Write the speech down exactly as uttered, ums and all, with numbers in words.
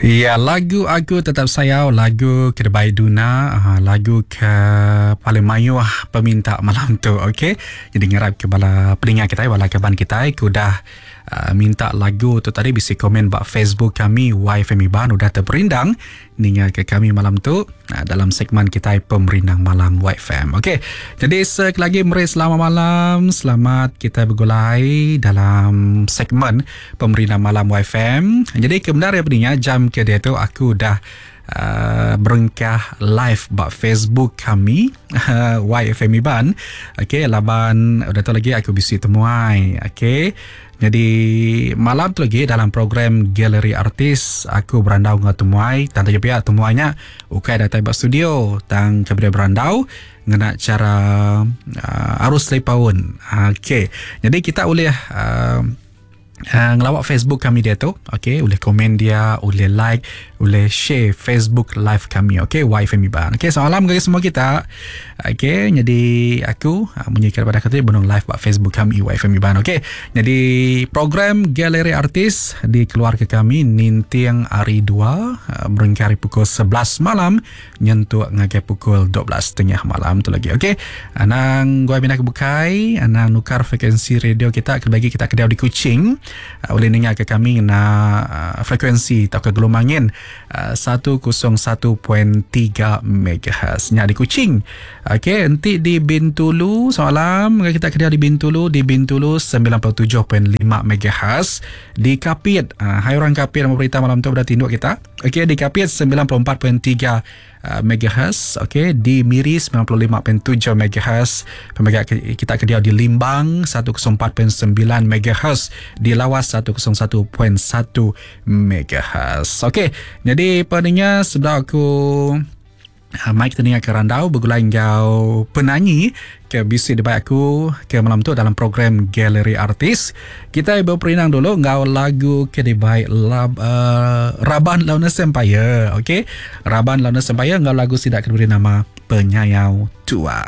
Ya, lagu Aku Tetap Sayau, lagu ke dibai Duna, uh, lagu ke paling mayuh peminta malam tu, okey. Jadi ngarap ke bala peninga kita, bala kaban kita ke udah uh, minta lagu tu tadi bisi komen ba Facebook kami Y F M Iban udah terperindang ninga ke kami malam tu uh, dalam segmen kita Pemerindang Malam Y F M. Okey. Jadi sekali lagi meri selamat malam, selamat kita bergulai dalam segmen Pemerindang Malam Y F M. Jadi kebenar ya peninga, jam ke dia tu aku dah uh, berengkah live ba Facebook kami uh, Y F M Iban. Okey, laban udah tu lagi aku bisi temuai. Okey. Jadi malam tu lagi dalam program Galeri Artis aku berandau dengan temuai, tang taja pihak temuainya ukai datai ba studio tang kepada berandau ngena cara uh, arus telepaun. Okey. Jadi kita boleh uh, Uh, ngelawak Facebook kami dia tu, okey, boleh komen dia, boleh like, boleh share Facebook live kami, okey, Y F M Iban. Okey, salam kepada semua kita. Okey, jadi aku uh, munyi kepada kata benung live ba Facebook kami Y F M Iban, okey. Jadi program Galeri Artis dikeluarkan kami nintiang hari dua uh, berengkari pukul sebelas malam nyentuk ngagai pukul dua belas tiga puluh malam tu lagi, okey. Anang gua bina kebukai, anang nukar frekuensi radio kita bagi kita kedai di Kuching. Uh, boleh dengar ke kami na uh, frekuensi atau ke gelombangin uh, seratus satu perpuluhan tiga megahertz nya di Kuching. Okey, nanti di Bintulu semalam kita kerja di Bintulu, di Bintulu sembilan puluh tujuh perpuluhan lima megahertz. Di Kapit, uh, hai orang Kapit yang berita malam tu berada tinduk kita. Okey, di Kapit sembilan puluh empat perpuluhan tiga megahertz. Okey, di Miri sembilan puluh lima perpuluhan tujuh megahertz. Pemegang kita kerja di Limbang seratus empat perpuluhan sembilan megahertz, di Lawas seratus satu perpuluhan satu megahertz. Okey, jadi pendengar sebelah aku Mike teninga ke randau bergulai ngau penyanyi ke bisi debat aku ke malam tu dalam program Galeri Artis. Kita berperinang dulu ngau lagu ke debai lab, uh, Raban Launa Sempaya. Okey, Raban Launa Sempaya ngau lagu sidak ke beri nama Penyayau Tua.